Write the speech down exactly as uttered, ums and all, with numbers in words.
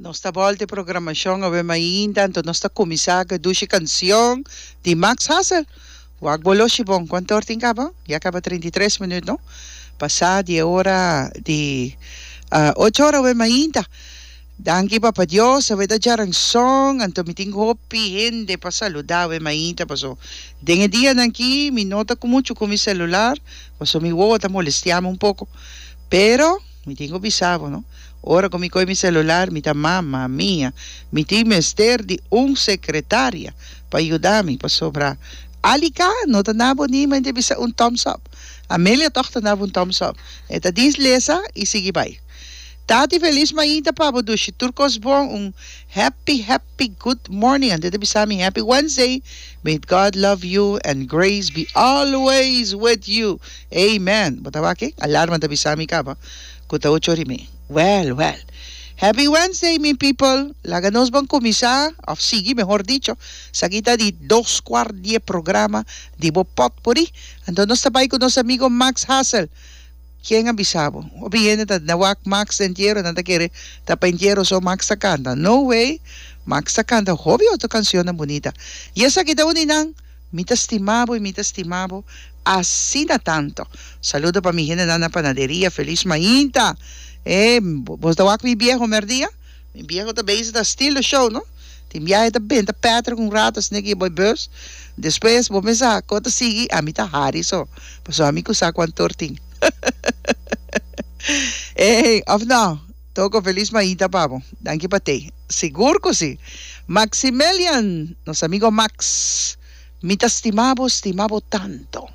Nos ta bolta e programacion awe mainta, anto nos ta cuminsa cu e dushi cancion di Max Hassel. Wak bo loshi bon, cuanto or tin caba? Ya caba trinta i tres minuut, no? Pasa di e ora di ocho ora awe mainta. Danki Papa Dios, awe ta djaranson, anto mi tin hopi hende pa saluda awe mainta, paso den e dianan aki mi no ta cu mucho cu mi celular, paso mi wowo ta molestiami un poco. Pero mi tin cu bisa bo, no? Ora cu mi coge mi celular mi ta mama mia, mi tin mester di un secretaria pa yuda mi, pasobra Alika no ta nabo ni men ta bisa un thumbs up. Amelia toch ta nabo un thumbs up. E ta dis lesa y sigui bay. Tati felis mainta pa bo dushi tur cos bon un happy happy good morning anto e ta bisa mi happy Wednesday may God love you and grace be always with you amen bo ta wak e alarma ta bisa mi caba cu ta ocho ora y mei well well happy Wednesday mi people laga nos ban cuminsa of sigui mehor dicho esaki ta di dos cuart di e programa di bo potpourri anto nos ta bay cu nos amigo Max Hassel. Ken a bisa bo? Hopi hende ta na wak Max den entiero, nan ta kere ta pa entiero so Max ta kanta. No way! Max ta kanta hopi otro cancionnan bunita. Y esaki ta un di nan, Mi ta stima bo y mi ta stima bo asina tanto. Saludo pa mi hendenan na panaderia, feliz mainta! E, bo ta wak mi bieho merdia? Mi bieho ta bezig ta steal the show no. Tin biahe ta benta Patrick un rato asina ki e boy bus. Despues bo mesa ko ta sigui ami ta hari so. Pasobra ami ku sa kuantor tin. Ey of no. Toko felis mainta pa bo. Danki pa tey. Sigur ku si. Maximilian, nos amigo Max. Mi ta stima bo, stima bo tanto.